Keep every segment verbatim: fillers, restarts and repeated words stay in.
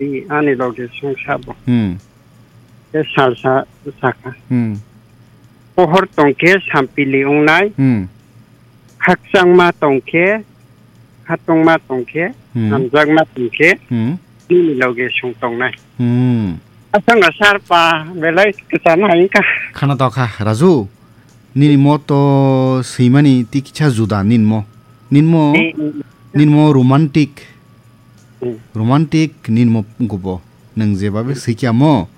Di ani loge song sabo. Hmm. Te salsa saka. Hmm. Pohor tongkhe sampili ongnai. Hmm. Khakchangma tongkhe, khatungma tongkhe, Hmm. hamjakma tongkhe, Hmm. nini loge song tongnai. Hmm. Aswk no sar pa belai kwcham hai wngkha. Khana tokha, Raju. Nini mo to swimani tiksa juda ninmo. Ninmo, Eh, eh, eh. ninmo romantic. Hmm. Romantic ninmo gubo. Nwng jebabe Hmm. swikya mo.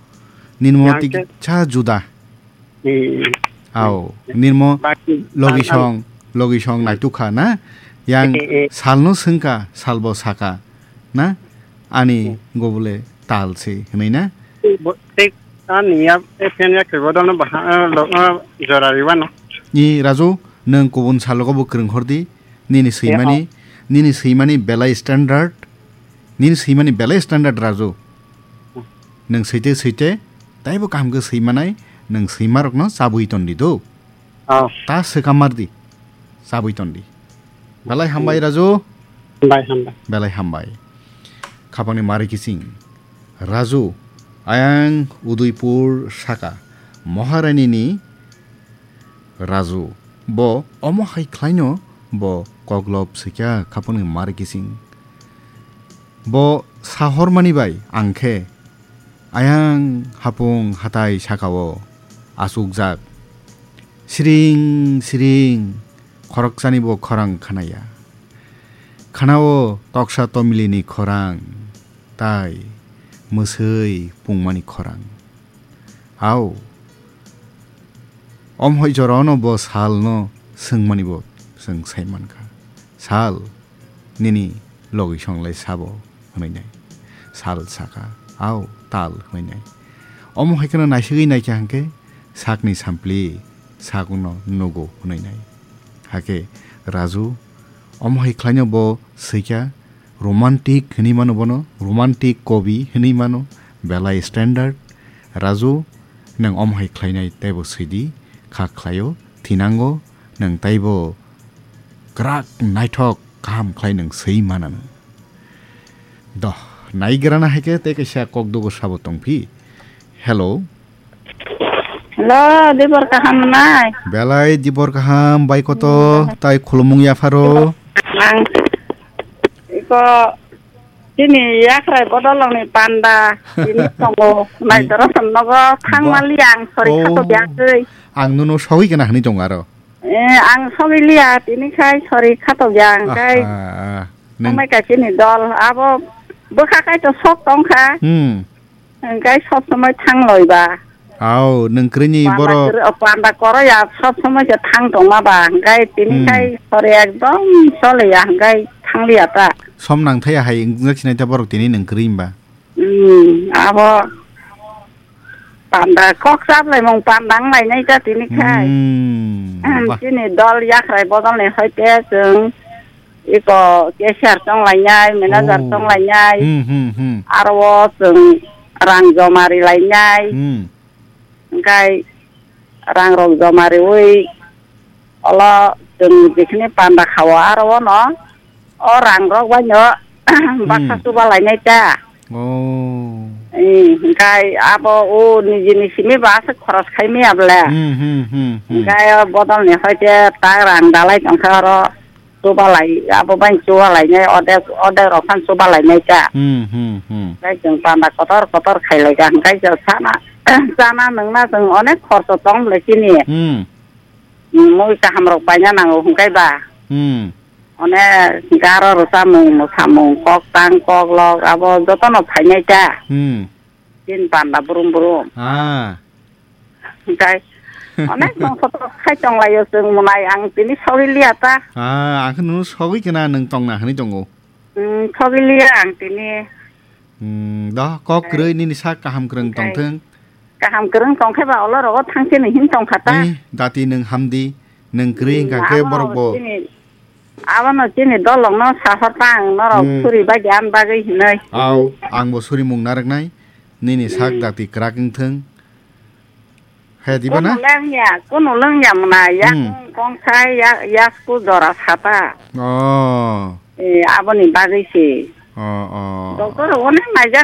Ninmo Yang ke- tiksa juda. Hmm. Ao, ninmo Baki logisong, logisong Hmm. naitukha na. Yang Eh, eh, eh. salno swngkha, salbo saka na. Ani Hmm. gobole tal se, hwnwi na? Bo-, tei ani ya, F N ya khe bodolno baha, ah, lo, ah, jora riwano. Ni Raju, nwng kubun salogo bo kwrwng hordi, nini Eh, swimani, oh. nini swimani belai standard, nini swimani belai standard Raju. Hmm. Nwng swite swite, taibo kaham khe swimanai, nwng swimarokno chabwi tondi do. Oh. Ta swkang mardi. Chabwi tondi. Belai hambai, Raju. Hambai, hambai. Belai hambai. Khapangni mari kising. Raju, ayang Udaipur saka. Maharani ni Raju. Bo omo hai khlaino bo koklop sikya khapangni mari kising. Bo sahormani bai ang khe ayang hapung hatai sakao achukjak. Siring siring khoroksani bo khorang khanaya. Khanao toksa tomilini khorang tai mwswi pungmani khorang. Ao, omhoi jorano bo salno swngmani bo chwng sai mankha. Sal, nini logisong lai sabo? Hwnwi nai. Sal saka, "Ao, tal," hwnwi nai. Omo hai kheno naisingwi naikha hwnkhe sakni sampli sakno nugo hwnwi nai. Hakhe Raju omo hai khlaino bo swikha, romantic hwnwi mano bono, romantic kobi hwnwi mano, belai standard. Raju, nwng omo hai khlainai teibo swidi, kha khlaio, thinango, nwng teibo kwrak naithok kaham khlai nwng swi mananw. Doh, naigrana hai khe tei kaisa kok dugo sabo tongphi. Hello. Hello, Dibor kaham nai? Belai Dibor kaham, bai koto, Hmm. tai khulumung yapharo. Ang iko chini yakrai bodolongni panda, ini tongo, nai Ni- doro nogo thang Ba- mali ang, sorry, Oh, khato biang twi. Ang nono sogwi kana hwnwi tongo aro. Eh, ang sogwi liya, tini khai sori khatokya, hwnkhe Aha, neng- tongmai kaisa ni dol. Abo bwkha kaitor sok tongkha. Hmm. Hwnkhe sob somoi thang loiba. Au, nung kwrwini Panda borok kwrwi-, o, panda koroya sob somoi se thang tongma ba. Hwnkhe tini Hmm. khai sori ekdom choliya, hwnkhe thangliya ta. Som nang thaya hai wngjak sinai ta borok tini nung kwrwi hwnba. Hmm, abo panda kok chaplaimung panda wng lainai ta tini khai. Hmm, Ahem, wah. Chini dol yakrai bodol ni hoite chwng iko cashier chong lainai, manager Oh. chong lainai. Hmm, hmm, hmm. Aro o chwng rang joma ri lainai. Hmm. Hwnkhe rang rok joma riwi olo chwng jekhini panda khao aro ono o rang rok bai no baksa Hmm. chuba lainai ta. Oh. Eh, hwnkhe abo o nijini simi ba aswk khoros khai maya bwle. Hmm, hmm, hmm, hmm. Hwnkhe o bodol ni hoite tak rang dalai tongkha oro. Chubalai, abo bai chubalai nai, odek, odek rok phan chubalai nai ta. Hmm, hmm, hmm. Tei chwng panda kotor kotor khailai ka, hwnkhe chwng sana, chana nwngna chwng onek khorso tong bwlai chini. Hmm. Hmm, mui kaham rok paina nango hwnkhe ba. Hmm. Onek garo rwchapmung, mwsamung, kok tang, kok lok, abo jotono phainai ta. Hmm. Chini panda brum brum. Ah. Hwnkhe onek nong kotor khai tonglaio chwng mwnai ang tini sogwi liya ta. Ah, ang khe nono sogwi kena nwng tongna hwnwi tongo. Hmm, sogwi liya ang tini. Hmm, do, kok Hwnkhe kwrwi nini sak kaham kwrwng hwnkhe tongthwng. Kaham kwrwng tongkhe ba olo rogo thangse ni hin tongkha ta. Eh, dati nwng hamdi, nwng kwrwi Hmm, hwnkha khe abo borok bo. Chini Abono chini dolongno sahor ta ang norok Hmm. suri bai di ani bagwi hinwi. Au, ang bo suri mung narwknai. Nini sak Hmm. dati kwrak wngthwng. He, diba na? Kunu lengya, kunu lengya mwnai, yak Hmm. kongthai, yak, yasku jora sata. Oh. Eh, aboni bagwi se. Oh, oh. Doctor rok onek naijak